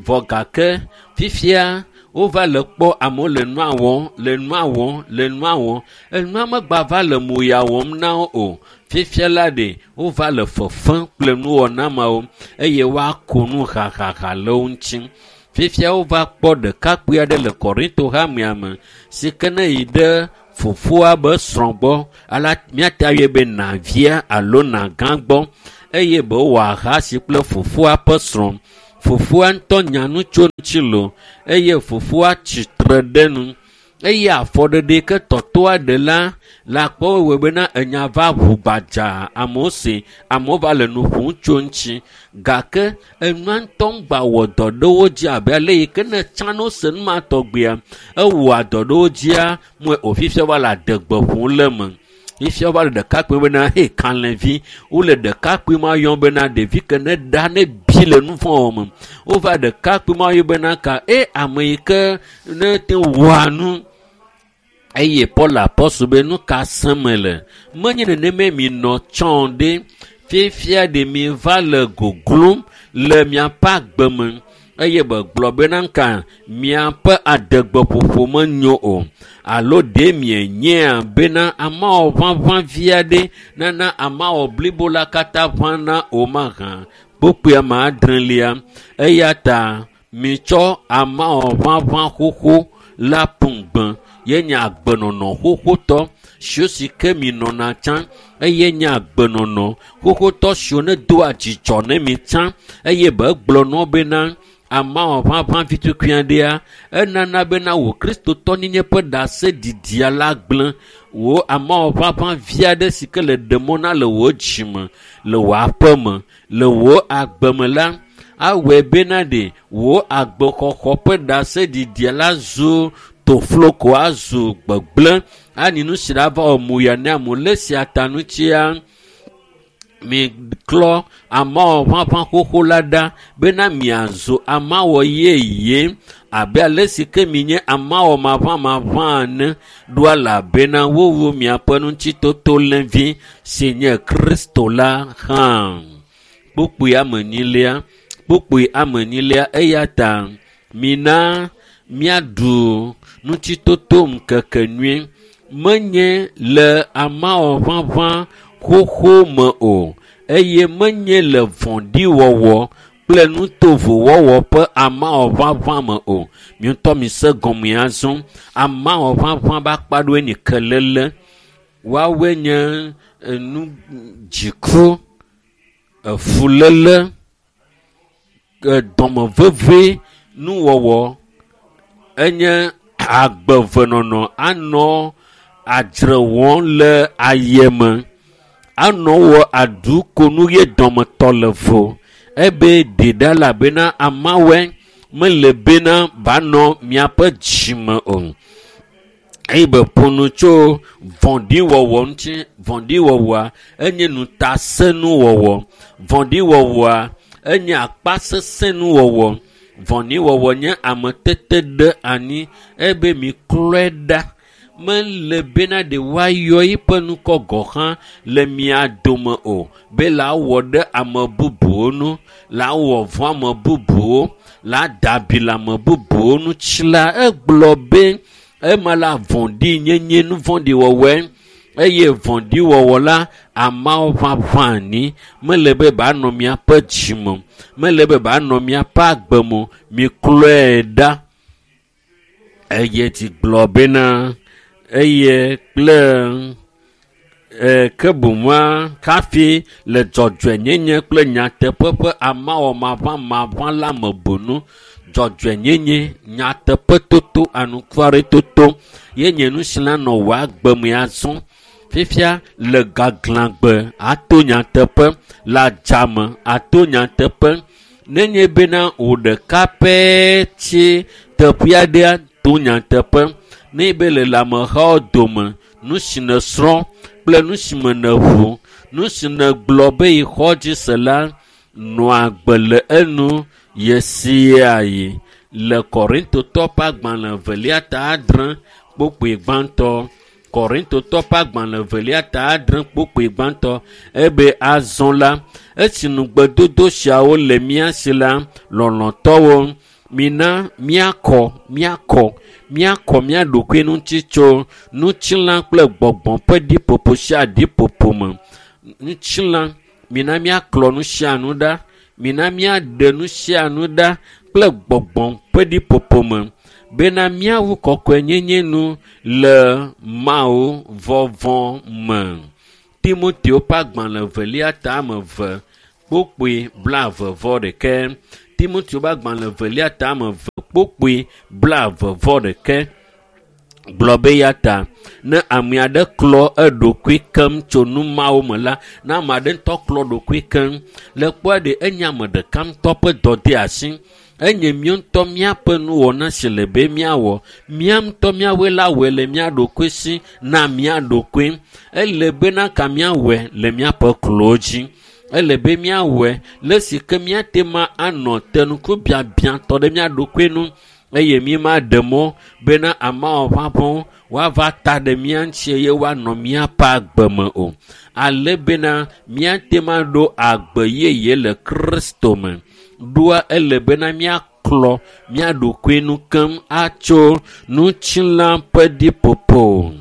Vɔ gake fifia wova le kpɔ amewo le nua wɔm, le nua wɔm, le nua wɔm. Enua megba va le moya wɔm na wo o. Fifia la ɖe wova le fefem kple nuwɔna mawo eye woako nu hahaha le wo ŋuti. Fifia wova kpɔ ɖekakpui aɖe le Korinto hamea me si ke ne yi ɖe fofoa be srɔ̃ gbɔ ala míate ayɔe be navia alo nagã gbɔ eye be wowɔ ahasi kple fofoa ƒe srɔ̃. Fofoa ŋutɔ nya nu tso ŋuti loo eye fofoa tsitre ɖe nu eye afɔɖeɖe yi ke tɔtɔa ɖe la le akpɔ wɔe bena enya va ʋu gbadzaa amewo se amewo va le nu ƒom tso ŋuti gake enua ŋutɔ ŋgba wɔ dɔ ɖe wo dzi abe ale yi ke ne tsã ne wose nu ma tɔgbea ewɔa dɔ ɖe wo dzia mɔe o fifia va le adegbe ƒom le eme. Fifia wova le ɖekakpui bena he kalẽvi wole ɖekakpui ma yɔm bena ɖevi ke ne ɖa ne bi le nu vɔ̃ wɔm me. Wova ɖekakpui ma yɔm bena ka e ame yi ke ne te wɔa nu eye Paul apɔstol be nu ka sẽm le. Menye nenemae mi nɔ tsã ɖe. Fifia ɖe mi va le goglom le miaƒe agbe me eye be gblɔ bena ŋka miaƒe adegbeƒoƒo menyo o alo ɖe mienyea bena amawɔ ʋaʋã vi aɖe nana amawɔ blibo la katã ʋãna o mahã. Kpukpui ame adrelia eya ta mitsɔ amawɔ ʋaʋã xoxo la ƒu gbe ye nye agbenɔnɔ xoxotɔ siwo si ke mi nɔna tsã eye nye agbenɔnɔ xoxotɔ siwo ne doa dzidzɔ ne mi tsã eye be gblɔ nɔ bena amawɔ ʋaʋã vi tukui aɖea enana bena wò kristotɔnyenye ƒe ɖaseɖiɖia la gblẽ wò amawɔ ʋaʋã vi aɖe si ke le ɖe mɔ na le wò dzime le wò aƒe me le wò agbe me la awɔe bena ɖe wò agbexɔxɔ ƒe ɖaseɖiɖia la zu tofloko azu gbegblẽ ani nu si la va wɔ moya ne amewo le sia ta ŋutia miklɔ amawɔ ʋaʋã xoxo la ɖa bena miazu amawɔ yeye abe ale si ke minye amawɔ maʋãmaʋã ene ɖo elabena wowu miaƒe ŋutitoto lẽvi si nye Kristo la hã. Kpukpui ame enyilia kpukpui ame enyilia eya ta mina míaɖu ŋutitoto ŋkeke nyui. Menye le amawɔʋaʋã xoxo me o eye menye le vɔ̃ɖiwɔwɔ kple nutovowɔwɔ ƒe amawɔʋaʋã me o. Mi ŋutɔ mi se gɔme azɔ. Amawɔʋaʋã be akpa ɖewoe nye kelele. Woawoe nye enu dziku, efuléle, dɔmeveve nuwɔwɔ enye agbevenɔnɔ anɔ adzre wɔm le ayeme anɔ wɔ aɖu konu ye dɔmetɔ le vo ebe ɖeɖa elabena amawoe mele bena banɔ miaƒe dzime o. Eye be ƒo nu tso vɔ̃ɖiwɔwɔ ŋuti. Vɔ̃ɖiwɔwɔa enye ŋutasẽnuwɔwɔ. Vɔ̃ɖiwɔwɔa enye akpasesẽnuwɔwɔ. Vɔ̃ɖiwɔwɔ nye ametete ɖe anyi ebe miklɔe ɖa. Mele bena ɖe woayɔ eƒe ŋkɔ gɔ̃ hã le mia dome o be la wɔ ɖe ame bubuwo nu, la wɔ vɔ̃ ame bubuwo, la da abi le ame bubuwo ŋuti la, egblɔ be ema la vɔ̃ɖinyenye nu vɔ̃ɖiwɔwɔe eye vɔ̃ɖiwɔwɔ la ameawo ʋaʋã anyi. Mele be banɔ miaƒe dzime, mele be banɔ miaƒe agbe me, miklɔe ɖa. Eye dzi gblɔ bena eye kple ke boŋua kafi le dzɔdzɔenyenye kple nyateƒe ƒe amawɔmaʋãmaʋã la me bonu. Dzɔdzɔenyenye, nyateƒetoto, anukwaretoto ye nye nu si la nɔ wò agbe me azɔ. Fifia le gaglãgbe ato nyateƒe, le adzame ato nyateƒe. Nenye bena wò ɖeka pɛ tsi teƒe aɖea to nyateƒe. Ne be le amehawo dome, nu si nèsrɔ̃ kple nu si me nèʋu, nu si nègblɔ be yexɔ dzi se la, nɔa agbe le enu ɣe sia ɣi. Le Korintotɔ ƒe agbalẽ evelia ta adre kpukpui gbãtɔ. Korintotɔ ƒe agbalẽ evelia ta adre kpukpui gbãtɔ ebe azɔ la, esi nugbedodo siawo le mía si la, lɔlɔ̃tɔwo, mina míakɔ, míakɔ, míakɔ mía ɖokui ŋuti tso ŋutilã kple gbɔgbɔ ƒe ɖiƒoƒo sia ɖiƒoƒo me. Ŋutilã, mina míaklɔ nu sia nu ɖa, mina míaɖe nu sia nu ɖa kple gbɔgbɔ ƒe ɖiƒoƒo me bena míawu kɔkɔenyenye nu le Mawu vɔvɔ̃ me. Timoteo ƒe agbalẽ evelia ta ame eve kpukpui 21. Timoteo ƒe agbalẽ evelia ta ame eve kpukpui 21 gblɔ be ya ta ne ame aɖe klɔ eɖokui keŋ tso nu mawo me la, ne ame aɖe ŋutɔ klɔ ɖokui keŋ le kpɔa ɖe enye ame ɖeka ŋutɔ ƒe dɔdeasi. Enye mía ŋutɔ míaƒe nuwɔna si le be míawɔ. Mía ŋutɔ míawoe la wɔe le mía ɖokui si na mía ɖokui. Ele bena ka míawɔe le míaƒe klowo dzi. Ele be míawɔe le si ke míate ma anɔ tenukubiabiatɔ ɖe mía ɖokui nu eye mí ma ɖe mɔ bena ameawo ʋaʋãwo woava ta ɖe mía ŋuti eye woanɔ míaƒe agbe me o. Ale bena míate ma ɖo agbe yeye le Kristo me. Ɖoa ele bena míaklɔ mía ɖokui nu keŋ atso ŋutilã ƒe ɖiƒoƒo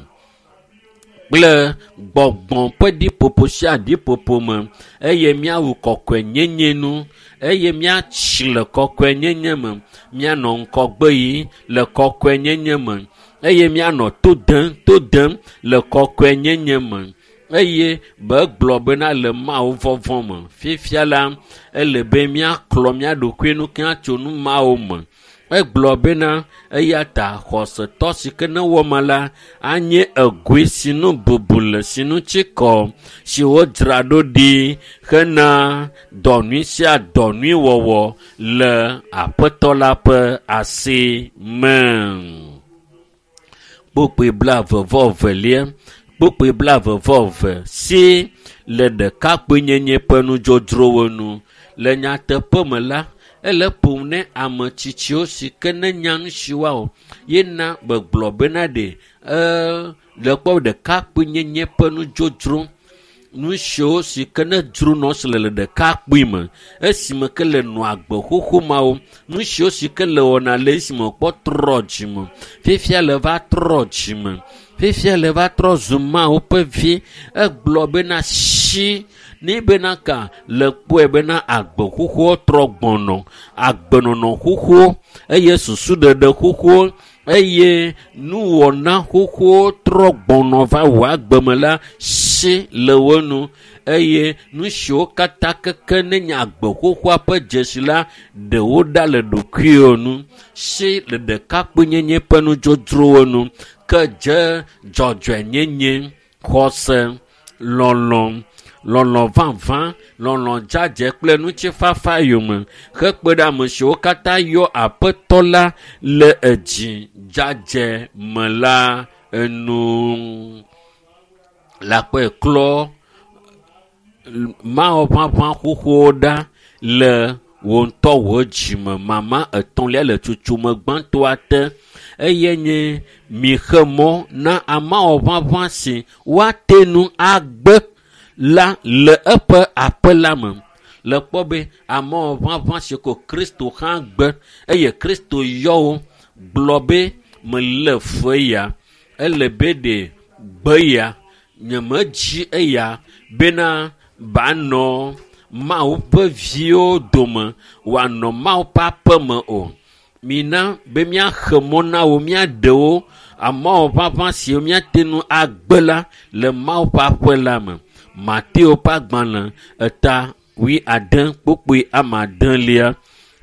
kple gbɔgbɔ ƒe ɖiƒoƒo sia ɖiƒoƒo me eye míawu kɔkɔenyenye nu eye míatsi le kɔkɔenyenye me, míanɔ ŋgɔgbe yi le kɔkɔenyenye me eye míanɔ to dem to dem le kɔkɔenyenye me eye be gblɔ bena le Mawu vɔvɔ̃ me. Fifia la, ele be míaklɔ mía ɖokui nu keŋ atso nu mawo me. Egblɔ bena eya ta xɔsetɔ si ke ne wɔ ma la anye egoe si nu bubu le si nu tsi kɔ si wodzra ɖo ɖi hena dɔ nyui sia dɔ nyui wɔwɔ le Aƒetɔ la ƒe asi me. Kpukpui 22, kpukpui 22 si le ɖekakpuinyenye ƒe nudzodzrowo nu. Le nyateƒe me la, ele ƒom ne ame tsitsiwo si ke ne nya nu si woawɔ yena gbegblɔ bena ɖe le kpɔ ɖekakpuinyenye ƒe nudzodzro nu siwo si ke ne dzro nɔ si le ɖekakpui me esime ke le nɔ agbe xoxo mawo nu siwo si ke le wɔna le esime kpɔ trɔ dzime fifia le va trɔ dzime Fifia le va trɔ zu Mawu ƒe vi. Egblɔ bena si ni bena ka le kpɔe bena agbe xoxoa trɔ gbɔnɔ, agbenɔnɔ xoxo eye susuɖeɖe xoxo eye nuwɔna xoxo trɔ gbɔnɔ va wò agbeme la si le wo nu eye nu siwo katã keke ne nye agbe xoxoa ƒe dzesi la ɖewo ɖa le ɖokuiwo nu si le ɖekakpuinyenye ƒe nudzodzrowo nu ke dze dzɔdzɔenyenye, xɔse, lɔlɔ, lɔlɔ vavã, lɔlɔ dzadzɛ kple ŋutifafa yome hekpe ɖe ame siwo katã yɔ aƒetɔ la le edzi dzadzɛ me la enu. Le akpɔe klɔ Mawu ʋaʋã xoxowo ɖa le wò ŋutɔ wò dzime. Mama etɔ̃lia le tsutsumi gbãtɔa te eye nye mixe mɔ na amawɔ ʋaʋã si woate nu agbe la le eƒe aƒe la me. Le kpɔ be amawɔ ʋaʋã si ko Kristo hã gbe eye Kristo yɔ wo gblɔ be mele fu eya, ele be ɖe gbe ya, nyemedzi eya bena banɔ Mawu ƒe viwo dome wòanɔ Mawu ƒe aƒe me o. Mina be míaxe mɔ na wo, míaɖe wo amawɔ ʋaʋã siwo míate ŋu agbe la le Mawu ƒe aƒe la me. Mateo ƒe agbalẽ eta 70 kpukpui ame adelia.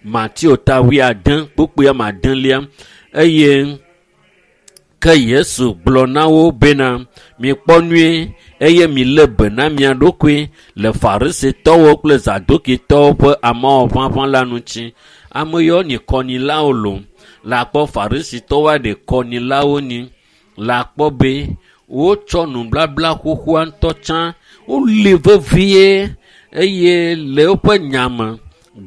Mateo ta 70 kpukpui ame adelia eye ke Yesu gblɔ na wo bena mikpɔ nyuie eye milé be na mia ɖokui le Farisitɔwo kple Zadukitɔwo ƒe amewɔ ʋaʋã la ŋuti. Ame yiwo nyi kɔnyilawo lo le akpɔ Farisitɔwo aɖe kɔnyilawo nyi le akpɔ be wotsɔ nublabla xoxoa ŋutɔ tsã woli vevie eye le woƒe nya me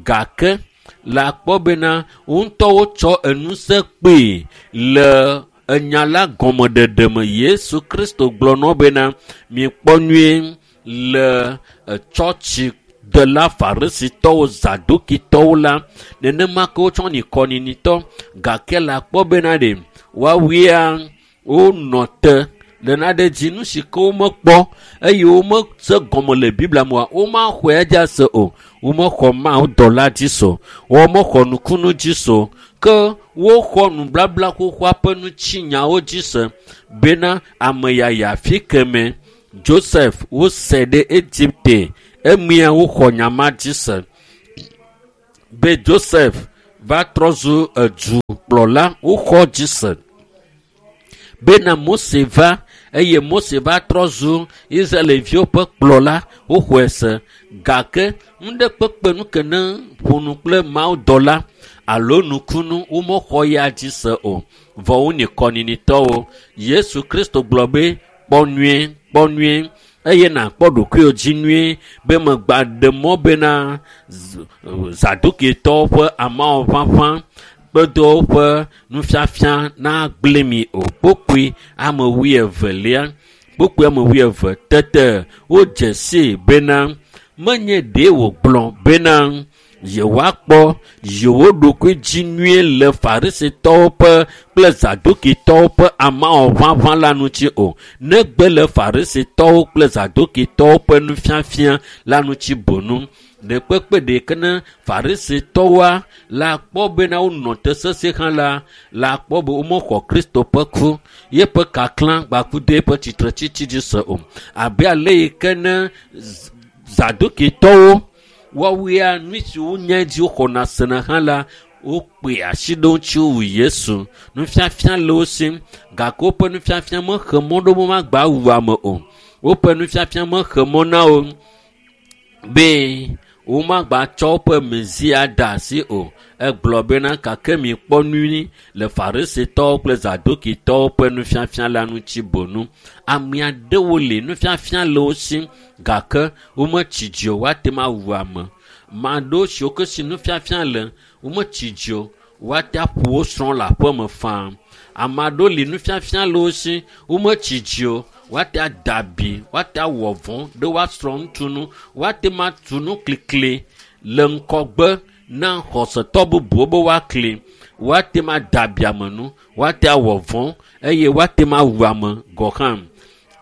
gake le akpɔ bena wo ŋutɔ wotsɔ enusẽ kpee le enya la gɔmeɖeɖe me. Yesu Kristo gblɔ na wo bena mikpɔ nyuie le tsɔtsi dela Farisitɔwo, Zadukitɔwo la nenema ke wotsɔ nyi kɔnyinitɔ gake le akpɔ bena ɖe woawoea wonɔ te le naɖe dzi nu si ke womekpɔ eye womese gɔme le Biblia me oa, womaxɔe edzi ase o. Womexɔ Mawu dɔla dzi se o, womexɔ nukunu dzi se o ke woxɔ nublabla xoxoa ƒe ŋutinyawo dzi se bena ame yaya fi keme Joseph wose ɖe Egipte emia woxɔ nya ma dzi se be Joseph va trɔ zu edukplɔla woxɔ dzi se bena Mose va eye Mose va trɔ zu Israelviwo ƒe kplɔla woxɔe se gake nuɖe nu ke ne ƒo nu kple Mawu dɔla alo nukunu womexɔ ya dzi se o vɔ wonyi kɔnyinitɔwo. Yesu Kristo gblɔ be kpɔ nyuie, kpɔ nyuie eye nàkpɔ ɖokuiwò dzi nyuie be megba ɖe mɔ bena Zadukitɔwo ƒe amewɔ ʋaʋã kpedo woƒe nufiafia nagblẽ mi o. Kpukpui ame wuievelia, kpukpui ame wuieve tete wodze sii bena menye ɖe wògblɔ bena yewoakpɔ yewo ɖokui dzi nyuie le Farisitɔwo ƒe kple Zadukitɔwo ƒe amewɔ ʋaʋã la ŋuti o, negbe le Farisitɔwo kple Zadukitɔwo ƒe nufiafia la ŋuti boŋ. Ɖekpekpe ɖeke ne Farisitɔwoa le akpɔ bena wonɔ te sesĩe hã la, le akpɔ be womexɔ Kristo ƒe ku, yeƒe kaklã gbakudo eƒe tsitretsitsi dzi se o. Abe ale yi ke ne Zadukitɔwo woawoea nu si wonye dzi woxɔna sena hã la, wokpe asi ɖe wo ŋuti wowu Yesu. Nufiafia le wo si gake woƒe nufiafia mexe mɔ ɖe womagba wu ame o. Woƒe nufiafia mexe mɔ na wo be womagbatsɔ woƒe Mesia de asi o. Egblɔ bena gake mikpɔ nyuie le Farisitɔwo kple Zadukitɔwo ƒe nufiafia la ŋuti boŋ. Ame aɖewo li nufiafia le wo si gake wometsi dzi o woate ŋu awu ame. Ame aɖewo siwo ke si nufiafia le wometsi dzi o woate aƒo wo srɔ̃ le aƒeme faa. Ame aɖewo li nufiafia le wo si wometsi dzi o woate ada abi, woate awɔ vɔ̃ ɖe woasrɔ̃ ŋutsu nu, woate ŋu atu nu klikli le ŋgɔgbe na xɔsetɔ bubuwo be woakli. Woate ma da abiame nu, woate awɔ vɔ̃ eye woate ma wu ame gɔ hã.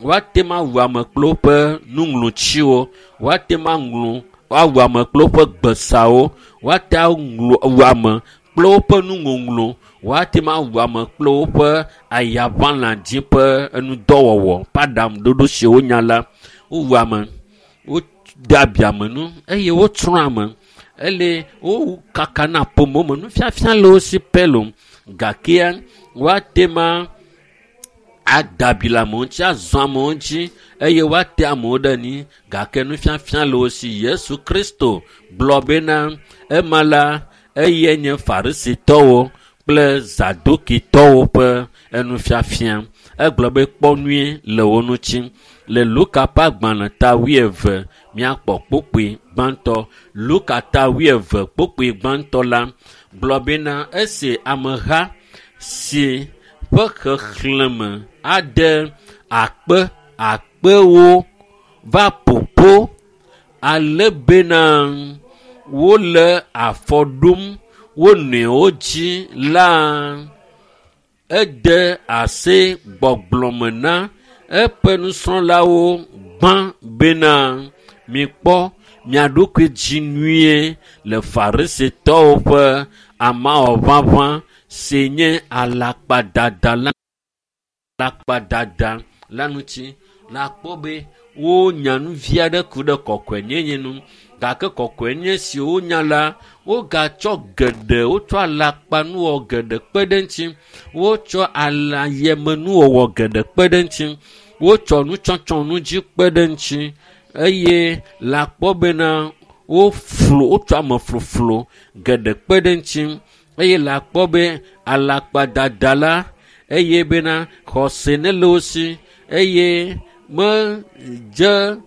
Woate ma wu ame kple woƒe nuŋlɔtsiwo, woate ma ŋlɔ awu ame kple woƒe gbesawo, woate aŋlɔ wu ame kple woƒe nuŋɔŋlɔ, woate ma wu ame kple woƒe ayaʋãladzi ƒe enudɔwɔwɔ ƒe aɖaŋuɖoɖo si wonya la. Wowu ame, wode abiame nu eye wotsrɔ̃ ame. Ele wowu kaka na ƒomewo me nufiafia le wo si pɛ lo gakea woate ma ada abi le amewo ŋuti, azɔ amewo ŋuti eye woate amewo ɖe anyi gake nufiafia le wo si. Yesu Kristo gblɔ bena ema la eye nye farisitɔwo kple zadukitɔwo ƒe enufiafia. Egblɔ be kpɔ nyuie le wo ŋuti. Le Luka ƒe agbalẽ ta 20 míakpɔ kpukpui gbãtɔ. Luka ta 20 kpukpui gbãtɔ la gblɔ bena esi ameha si ƒe xexlẽme ade akpe akpewo va ƒoƒo ale bena wole afɔ ɖom wo nɔewo dzi la, ede asi gbɔgblɔ me na eƒe nusrɔ̃lawo gbã bena mikpɔ mia ɖokui dzi nyuie le farisitɔwo ƒe amawɔʋaʋã si nye alakpadada la alakpadada la ŋuti. La kpɔ be wonya nu vi aɖe ku ɖe kɔkɔenyenye nu gake kɔkɔenyenye si wonya la wogatsɔ geɖe wotsɔ alakpanuwɔ geɖe kpe ɖe eŋuti wotsɔ alayemenuwɔwɔ geɖe kpe ɖe eŋuti wotsɔ nutsɔtsɔ nu dzi kpe ɖe eŋuti eye le akpɔ bena woflu wotsɔ amefluflu geɖe kpe ɖe eŋuti eye le akpɔ be alakpadada la eye bena xɔse ne le wo si eye medze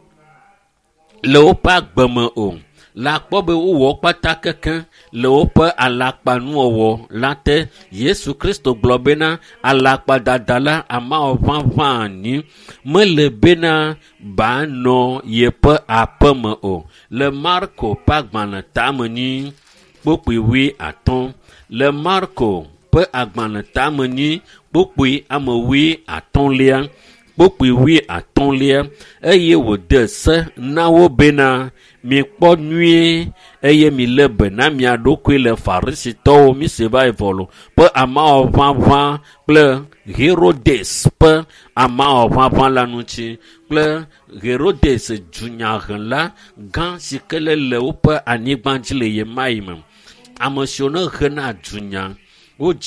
le woƒe agbe me o. Le akpɔ be wowɔ kpata keke le woƒe alakpanuwɔwɔ la te. Yesu Kristo gblɔ bena alakpadada la amawɔʋaʋã anyi mele bena banɔ yeƒe aƒeme o. Le Marko ƒe agbalẽ tame nyi kpukpui 50. Le Marko ƒe agbalẽ tame nyi kpukpui ame 50. Kpukpui 50 eye wòde se na wo bena mikpɔ nyuie eye milé be na mia ɖokui le farisitɔwo mise va yi vɔ lo ƒe amawɔʋaʋã kple Herodes ƒe amawɔʋaʋã la ŋuti kple Herodes dunyahela gã si ke le le woƒe anyigba dzi le ɣemaɣi me. Ame siwo ne hena dunya wodzi.